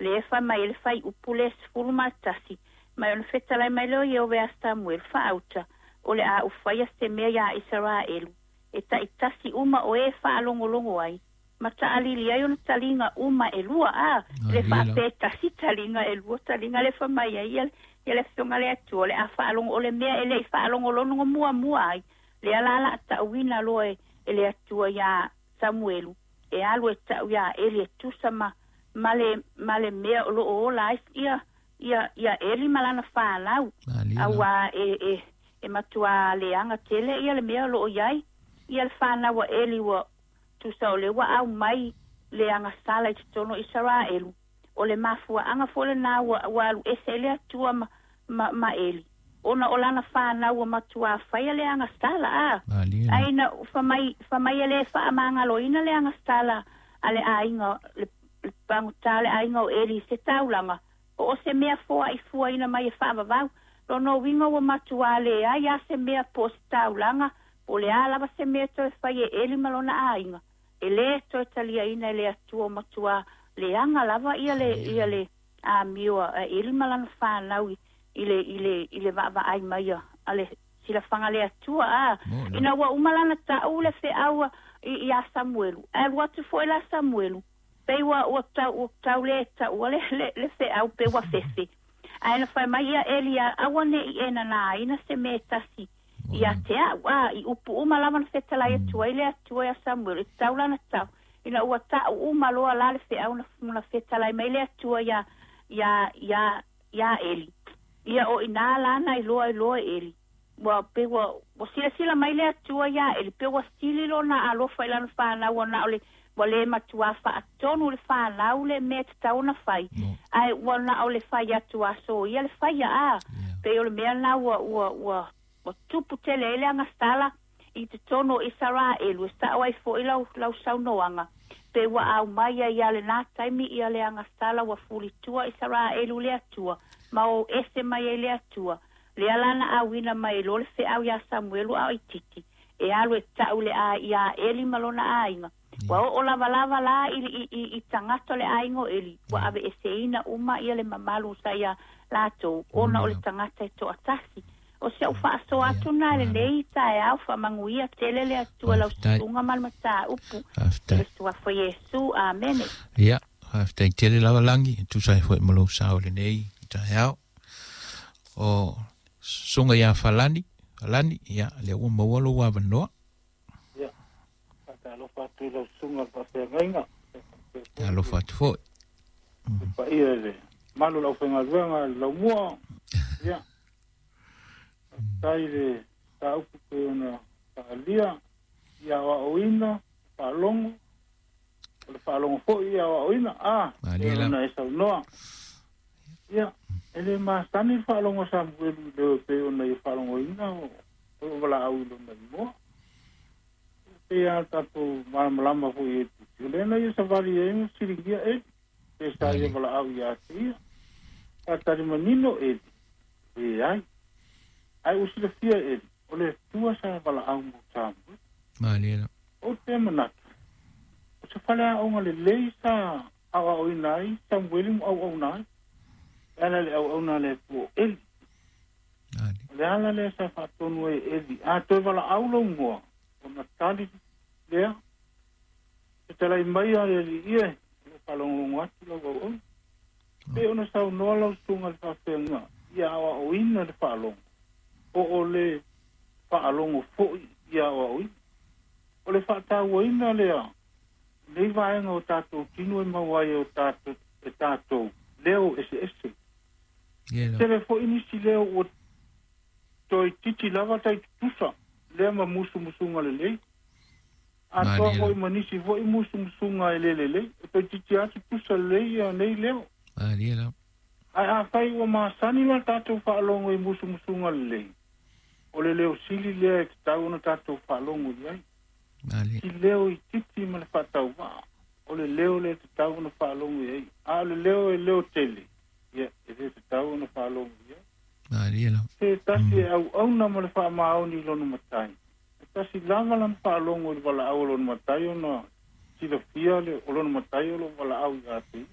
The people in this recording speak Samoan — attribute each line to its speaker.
Speaker 1: Le e faimai ai le fuaiupu le 11, mai ona fetalai mai lea o Ieova ia Samuelu, faauta, o le a ou faia se mea iā Isaraelu, e taitasi uma o e faalogologo ai, ma taʻalili ai ona taliga uma e lua. A le faapea e tasi taliga, e lua taliga le faimai ai ia le Afioga le Atua, o le a faalogo o le mea e lei faalogologo muamua ai, lea la la taʻuina loa e le Atua iā Samuelu, e alu e taʻu iā Eli e tusa ma le mea o loo ola ai ia Eli ma lana fanau, auā e matuā leaga tele ia le mea o loo i ai ia le fanau a Eli. Ua tusa o le ua aumai le agasala i totonu o Isaraelu. O le mafuaaga foi lenā ua alu ese ai le Atua ma Eli, ona o lana fanau ua matuā faia le agasala a. Ai na famai e lē faamagaloina le agasala a le aiga le pagotā le aiga o Eli se taulaga po o se mea foaʻi fuaina mai e faavavau. Lona uiga ua matuā leai a se mea po o se taulaga po o le a lava se mea toe fai e Eli ma lona aiga, e lē toe taliaina e le Atua, matuā leaga lava ia le amio a Eli ma lana fanau i le vaavaai mai a le silafaga le Atua a. Ina ua uma lana taʻu le feʻau iā Samuelu, ae alu atu foʻi la Samuelu, pei ua tau lē taʻua le feʻau, pe ua fefe. Ae na fai mai ia Eli, aua neʻi e nanāina se mea e tasi ia te aʻu a i upu uma lava na fetalai atu ai le Atua iā Samuelu e tau lana tau. Ina ua taʻu uma loa la le feʻau na fetalai mai le Atua iā Eli, ia o inā lana i loa i loa Eli ua pe ua silasila mai le Atua iā Eli, pe ua sili lona alofa i lana fanau, ona o le ua lē matuā faatonu le fanau le mea tatau ona fai, ae ua na o le fai atu aso ia le faia a. Pei o le mea lena ua tupu tele ai le agasala i totonu o Isaraelu e saʻo ai foʻi lau saunoaga, pe ua aumai ai ia lenā taimi ia le agasala ua fulitua Isaraelu le Atua ma o ese mai ai le Atua. Lea lana auina mai lo le feʻau iā Samuelu a o itiiti e alu e taʻu le a iā Eli ma lona aiga. Ua oo lavalava la i tagata le aiga o Eli, ua aveeseina uma ia le mamalu sa ia latou ona o le tagata e toatasi. O si au faasoa atu na lenei taeao, faamanuia tele le Atua lau susuga ma le mataupu i le suafa Iesu. Amene.
Speaker 2: Ia, faafetai tele lava Lagi, e tusa ai foi ma lou sao lenei taeao. O susuga ia Falani, Falani, ia, lea ua maua lou avanoa.
Speaker 3: Ia, faatalofa atu i lau susuga le faafeagaiga.
Speaker 2: Alofa atu foi.
Speaker 3: Paia i le malu lau faigaluega le laumua. Ia, faafetai le mataupu pei ona faaalia ia aoaoina faalogo, o le faalogo foi ia aoaoina a
Speaker 2: pei
Speaker 3: ona e saunoa. Ia, e lē masani le faalogo a Samuelu i leo pei ona ia faalogoina o o valaau i lona igoa. Pei a tatou malamalama foi e tusi o lea na ia savali ai ma fesiligia Eli pe sa ia valaau iā te ia. Faatali manino Eli, leai, ae ua silafia Eli o le Atua sa valaau mo Samuelu.
Speaker 2: Malie la.
Speaker 3: Ou te manatu o se faleaoga lelei sa aoaoina ai Samueli ma auauna ai e ala le auauna a le Atua o Eli. O le ala lea sa faatonu ai e Eli, a toe valaau lou igoa, ona tali lea, fetalai mai a le alii e o lo faalogologo atu lau auauna. Pei ona saunoa lau susuga le faafeaga ia aoaoina le faalogo po o le faalogo foi ia aoaoina. O le faatauaina lea nei vaega o tatou tino e maua ai o tatou e tatou leo eseese. Tele foi nisi leo ua toeititi lava tai tutusa lea ma musumusuga lelei. Atoa foi ma nisi foi musumusuga e lē lelei. E toeititi lava tutusa lelei ia nei leo.
Speaker 2: Malie la.
Speaker 3: Ae afai ua masani la tatou faalogo i musumusuga lelei, o le leo sili lea e tatau ona tatou faalogo i ai. Si leo itiiti ma le faatauvaa, o le leo lea e tatau ona faalogo i ai. A o le leo e leo tele, ia e lē tatau ona faalogo i ai.
Speaker 2: Malie la.
Speaker 3: Se tasi e auauna ma le faamaoni i lona matai, e tasi lava lana faalogo i le valaau o lona matai ona silafia le o lona matai o loo valaau iā te ia.